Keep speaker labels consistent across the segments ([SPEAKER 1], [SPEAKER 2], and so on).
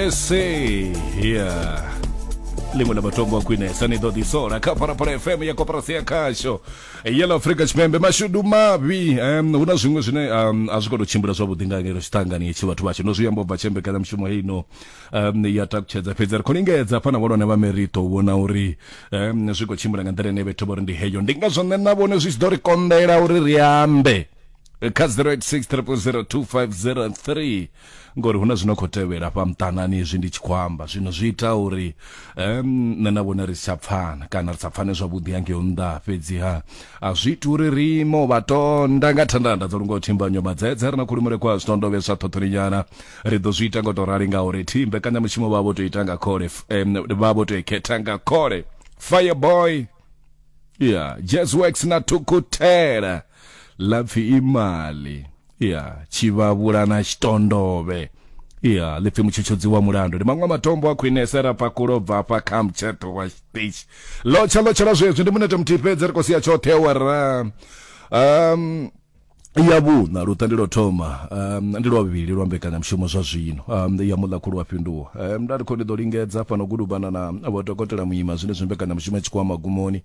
[SPEAKER 1] SA yeah. Ḽiṅwe ḽa matombo a khwinesa ni ḓo ḓisola kha Phalaphala FM ya koporasi ya khasho ya ḽa Afrika Tshipembe. Mashudu mavhi, hu na zwiṅwe zwine a zwi khou tou tshimbila zwavhuḓi nga ngeno tshiṱangani hetshi vhathu vhashu no zwi amba ubva tshe mbekanyamushumo heino ya takutshedza, fhedzi ri khou lingedza hafha na vhahulwane vha merito u vhona uri zwi khou tshimbila nga nḓila ine vhethu vho ri ndi heyo. Ndi ngazwo nṋe na vhone zwi tshi ḓo ri konḓela uri ri ambe kha 086 000 2503 ngori hu na zwino khou tevhela fha muṱanani hezwi ndi tshi khou amba zwino zwi ita uri nṋe na vhone ri si tsha pfana kana ri sa pfane zwavhuḓi hangei nnḓa. Fhedziha a zwi iti uri ri ime u vha tonda nga thandanda dzo lungaho thimbanyo madzedze ri na khulumele kwa zwitondovhe zwa ṱhoṱhoninyana. Ri ḓo zwi ita nga u tou rali ngauri thi mbekanyamushumo vha vho tou ita nga khole, vha vho tou i khetha nga khole. Fireboy ya Jazz Works na Thukuthela ḽa pfi imali ya tshivhavhula na tshitondovhe ya ḽi pfi mutshutshudzi wa mulandu. Ndi maṅwe a matombo a khwinesa ra pakulo bva afha kha mutsheṱo wa tshiṱitshi. Lotsha lotshela zwezwi ndi munete muthihi fhedzi ri khou sia tshoṱhe awara ya vhuṋa. Luṱa ndi lwo thoma, ndi lwa vhuvhili lwa mbekanyamushumo zwa zwino ya muḽa khulu wa fhinduwa. Nda ndi khou ndi ḓo lingedza fhano gudubana na vho dokotela Muima zwenezwi mbekanyamushumo i tshi khou magumoni,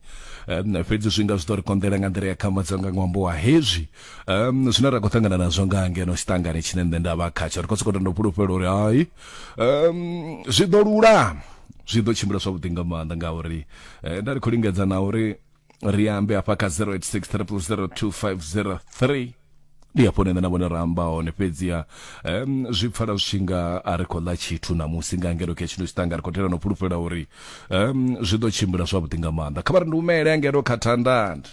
[SPEAKER 1] fhedzi zwi nga zwi ḓo ri konḓela nga nḓila ya khambadzo nga ṅwambo wa hezwi zwine ra khou ṱangana nazwo nga ngeno tshiṱangani tshine nṋe nda vha khatsho. Ri khou sokou tou fhulufhela uri hai, zwi ḓo lulama, zwi ḓo tshimbila zwavhuḓi nga maanḓa ngauri nda ri khou lingedza na uri ri ambe hafha kha 086 0002503 ndi hafho nṋe na vhone ra amba hone. Fhedziha zwi pfala zwi tshi nga a ri khou ḽa tshithu ṋamusi nga ngeno kha tshino tshiṱanga. Ri khou tela no fhulufhela uri zwi ḓo tshimbila zwavhuḓi nga maanḓa. Kha vha ri ndi humele ngeno kha thandanda.